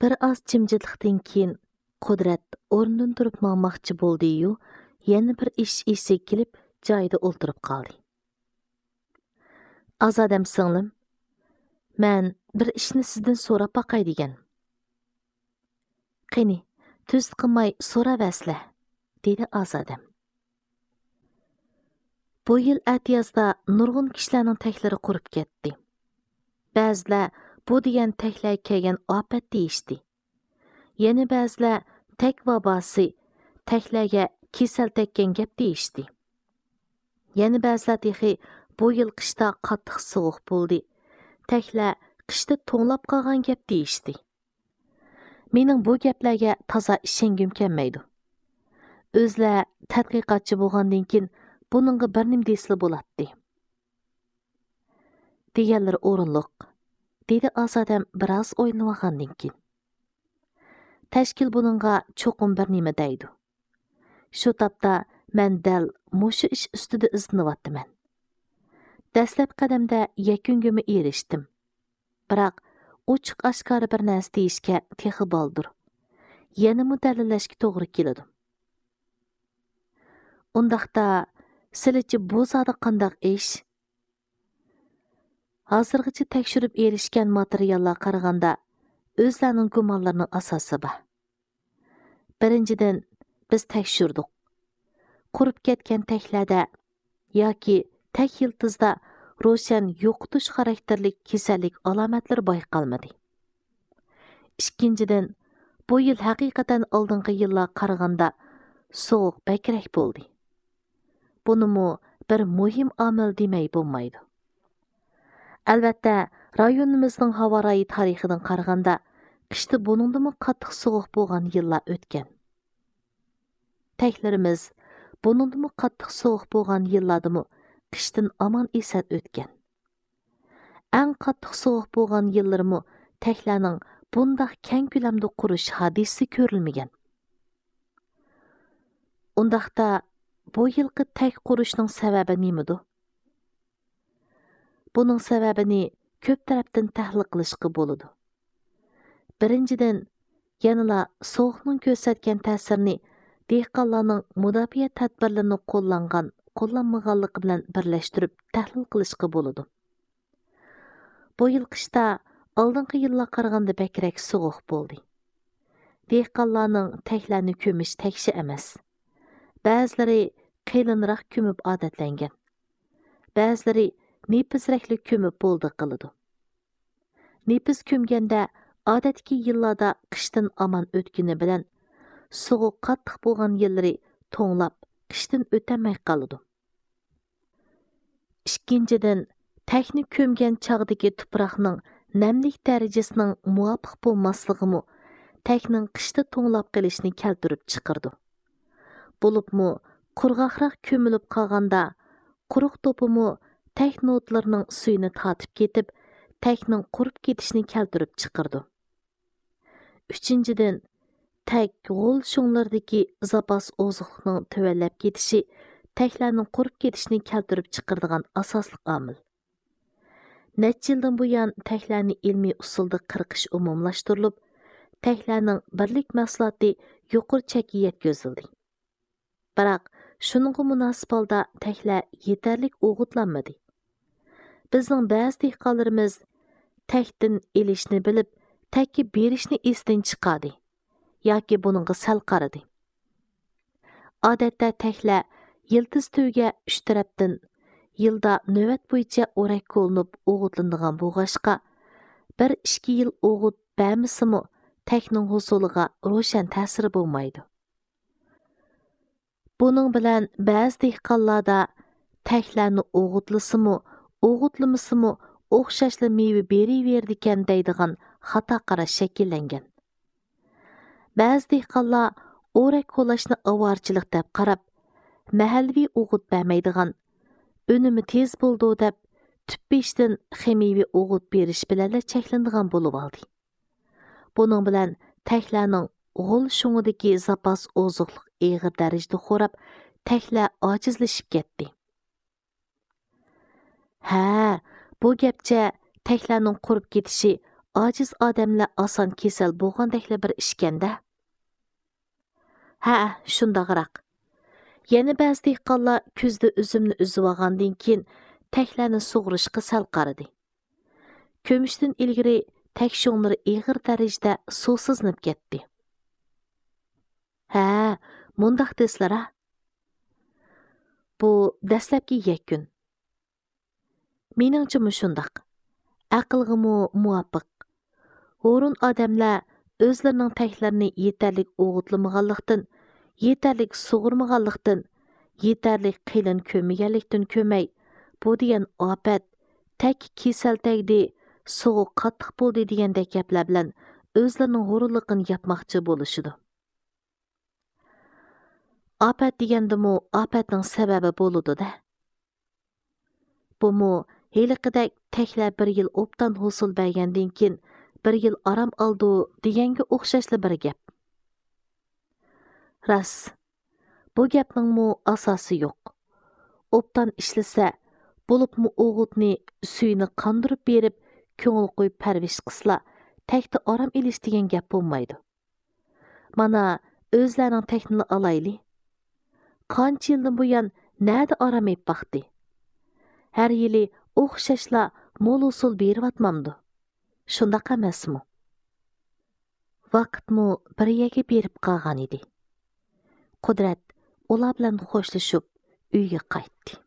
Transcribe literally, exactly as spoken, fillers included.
بىر ئاز جىمجىتلىقتىن كېيىن قۇدرەت ئورنىدىن تۇرۇپ ماڭماقچى بولدى-يۇ، يەنە بىر ئىش ئېسىگە كېلىپ، جايىدا ئولتۇرۇپ قالدى. «ئازادەم سىڭلىم، مەن بىر ئىشنى سىزدىن سوراپ باقاي دېگەن.» «قېنى، تۈزۈت قىلماي سوراۋەرسىلە»، دېدى ئازادەم. بۇ يىل ئەتىيازدا نۇرغۇن كىشىلەرنىڭ تەكلىرى قۇرۇپ كەتتى. بەزىلەر بۇ دېگەن تەكلەرگە كەلگەن ئاپەت دېيىشتى. يەنە بەزىلەر تەك ۋاباسى، تەكلەرگە كېسەل تەگكەن گەپ دېيىشتى. يەنە بەزىلەر تېخى بۇ يىل قىشتا قاتتىق سوغۇق بولدى، تەكلەر قىشتا توڭلاپ قالغان گەپ دېيىشتى. مېنىڭ بۇ گەپلەرگە تازا ئىشەنگۈم كەلمەيدۇ. ئۆزلەر تەتقىقاتچى بولغاندىن كېيىن بۇنىڭغا بىر نېمە دېسىلا بولاتتى. «دېگەنلىرى ئورۇنلۇق»، دېدى ئازادەم بىراز ئويلىنىۋالغاندىن كېيىن. «تەشكىل بۇنىڭغا چوقۇم بىر نېمە دەيدۇ. شۇ تاپتا مەن دەل مۇشۇ ئىش ئۈستىدە ئىزدىنىۋاتىمەن. دەسلەپكى قەدەمدە يەكۈنگىمۇ ئېرىشتىم. بىراق ئوچۇق-ئاشكارا بىر نەرسە دېيىشكە تېخى بالدۇر. يەنىمۇ دەلىللەشكە توغرا كېلىدۇ.» «ئۇنداقتا، سىلىچە بۇ زادى قانداق ئىش؟» «ھازىرغىچە تەكشۈرۈپ ئېرىشكەن ماتېرىياللارغا قارىغاندا، ئۆزلەرنىڭ گۇمانلىرىنىڭ ئاساسى بار. بىرىنچىدىن، بىز تەكشۈردۇق. قۇرۇپ كەتكەن تەكلەردە ياكى تەك يىلتىزدا روشەن يوقىتىش خاراكتېرلىك كېسەللىك ئالامەتلىرى بايقالمىدى. ئىككىنچىدىن، بۇ يىل ھەقىقەتەن ئالدىنقى يىللارغا قارىغاندا سوغۇق بەكرەك بولدى. بۇنىمۇ بىر مۇھىم ئامىل دېمەي بولمايدۇ. ئەلۋەتتە، رايونىمىزنىڭ ھاۋا رايى تارىخىدىن قارىغاندا، قىشتا بۇنىڭدىنمۇ قاتتىق سوغۇق بولغان يىللار ئۆتكەن. تەكلىرىمىز بۇنىڭدىنمۇ قاتتىق سوغۇق بولغان يىللاردىمۇ قىشتىن ئامان-ئېسەن ئۆتكەن. ئەڭ قاتتىق سوغۇق بولغان يىللىرىمۇ تەكلەرنىڭ بۇنداق كەڭ كۆلەمدە قۇرۇش ھادىسىسى كۆرۈلمىگەن. ئۇنداقتا، بۇ يىلقى تەك قۇرۇشنىڭ سەۋەبى نېمىدۇ؟ بۇنىڭ سەۋەبىنى كۆپ تەرەپتىن تەھلىل قىلىشقا بولىدۇ. بىرىنچىدىن، يەنىلا سوغۇقنىڭ كۆرسەتكەن تەسىرىنى دېھقانلارنىڭ مۇداپىئە تەدبىرلىرىنى قوللانغان، قوللانمىغانلىقى بىلەن بىرلەشتۈرۈپ تەھلىل قىلىشقا بولىدۇ. بۇ يىل قىشتا ئالدىنقى يىللارغا قارىغاندا بەكرەك سوغۇق بولدى. دېھقانلارنىڭ تەكلەرنى كۆمۈش تەكشى ئەمەس. بەزىلىرى قېلىنراق كۆمۈپ ئادەتلەنگەن. بەزىلىرى نېپىزرەكلا كۆمۈپ بولدى قىلىدۇ. نېپىز كۆمگەندە ئادەتتىكى يىللاردا قىشتىن ئامان ئۆتكىنى بىلەن، سوغۇق قاتتىق بولغان يىللىرى توڭلاپ، قىشتىن ئۆتەلمەي قالىدۇ. ئىككىنچىدىن، تەكنى كۆمگەن چاغدىكى تۇپراقنىڭ نەملىك دەرىجىسىنىڭ مۇۋاپىق بولماسلىقىمۇ تەكنىڭ قىشتا توڭلاپ قېلىشىنى كەلتۈرۈپ چىقىرىدۇ. بولۇپمۇ قۇرغاقراق كۆمۈلۈپ قالغاندا، قۇرۇق دوپىمۇ تەك نودلىرىنىڭ سۈيىنى تارتىپ كېتىپ، تەكنىڭ قۇرۇپ كېتىشىنى كەلتۈرۈپ چىقىرىدۇ. ئۈچىنچىدىن، تەك غول شۇڭلىرىدىكى زاپاس ئوزۇقلۇقنىڭ تۆۋەنلەپ كېتىشى تەكلەرنىڭ قۇرۇپ كېتىشىنى كەلتۈرۈپ چىقىرىدىغان ئاساسلىق ئامىل. نەچچە يىلدىن بۇيان تەكلەرنى ئىلمىي ئۇسۇلدا قىرقىش ئومۇملاشتۇرۇلۇپ، تەكلەرنىڭ بىرلىك مەھسۇلاتى يۇقىرى چەككە يەتكۈزۈلدى. بىراق، شۇنىڭغا مۇناسىپ ھالدا تەكلەر يېتەرلىك ئوغۇتلانمىدى. بىزنىڭ بەزى دېھقانلىرىمىز تەكتىن ئېلىشنى بىلىپ، تەككە بېرىشنى ئېسىدىن چىقاردى ياكى بۇنىڭغا سەل قارىدى. ئادەتتە تەكلەر يىلتىز تۈۋىگە ئۈچ تەرەپتىن يىلدا نۆۋەت بويىچە ئورەك كولىنىپ ئوغۇتلىنىدىغان بولغاچقا، بىر ئىككى يىل ئوغۇت بەرمىسىمۇ، تەكنىڭ ھوسۇلىغا روشەن تەسىرى بولمايدۇ. بۇنىڭ بىلەن بەزى دېھقانلاردا تەكلەرنى ئوغۇتلىسىمۇ، ئوغۇتلىمىسىمۇ ئوخشاشلا مېۋە بېرىۋېرىدىكەن دەيدىغان خاتا قاراش شەكىللەنگەن. بەزى دېھقانلار ئورەك كولاشنى ئاۋارىچىلىق دەپ قاراپ، مەھەللىۋى ئوغۇت بەرمەيدىغان، ئۈنۈمى تېز بولىدۇ دەپ، تۈپبېشىدىن خىمىيەۋى ئوغۇت بېرىش بىلەنلا چەكلىنىدىغان بولۇۋالدى. بۇنىڭ بىلەن تەكلەرنىڭ غول شۇڭىدىكى زاپاس ئوزۇقلۇق ئېغىر دەرىجىدە خوراپ، تەكلەر ئاجىزلىشىپ كەتتى. ھە، بۇ گەپچە تەكلەرنىڭ قۇرۇپ كېتىشى ئاجىز ئادەملەر ئاسان كېسەل بولغاندەكلا بىر ئىشكەندە. ھە، شۇنداقراق. يەنە بەزى دېھقانلار كۈزدە ئۈزۈمنى ئۈزۈۋالغاندىن كېيىن تەكلەرنى سۇغۇرۇشقا سەل قارىدى. كۆمۈشتىن ئىلگىرى تەك شۇڭلىرى ئېغىر دەرىجىدە سۇسىزلىنىپ كەتتى. ھە، مۇنداق دېسىلەر ھە. بۇ دەسلەپكى يەكۈن. مېنىڭچە مۇشۇنداق. ئەقىلغىمۇ مۇۋاپىق. ھۇرۇن ئادەملەر ئۆزلىرىنىڭ تەكلىرىنى يېتەرلىك ئوغۇتلىمىغانلىقتىن، يېتەرلىك سۇغۇرمىغانلىقتىن، يېتەرلىك قېلىن كۆممىگەنلىكتىن كۆمەي، بۇ دېگەن ئاپەت، تەككە كېسەل تەگدى، سۇغۇ قاتتىق بولدى دېگەندەك گەپلەر بىلەن ئۆزلىرىنىڭ ھۇرۇنلۇقىنى ياپماقچى بولۇشىدۇ. ئاپەت دېگەندىمۇ ئاپەتنىڭ سەۋەبى بولىدۇ-دە. بۇمۇ ھېلىقىدەك تەكلەر بىر يىل ئوبدان ھوسۇل بەرگەندىن كېيىن بىر يىل ئارام ئالىدۇ دېگەنگە ئوخشاشلا بىر گەپ. راست، بۇ گەپنىڭمۇ ئاساسى يوق. ئوبدان ئىشلىسە، بولۇپمۇ ئوغۇتنى، سۈيىنى قاندۇرۇپ بېرىپ، كۆڭۈل قويۇپ پەرۋىش قىلسىلا، تەكتە ئارام ئېلىش دېگەن گەپ بولمايدۇ. مانا، ئۆزلەرنىڭ تەكنىنى ئالايلى. قانچە يىلدىن بۇيان نەدە ئارام ئېلىپ باقتى؟ ھەر يىلى ئوخشاشلا مول ھوسۇل بېرىۋاتمامدۇ؟ شۇنداق ئەمەسمۇ؟ ۋاقىتمۇ بىر يەرگە بېرىپ قالغان ئىدى. قۇدرەت ئۇلار بىلەن خوشلىشىپ ئۆيگە قايتتى.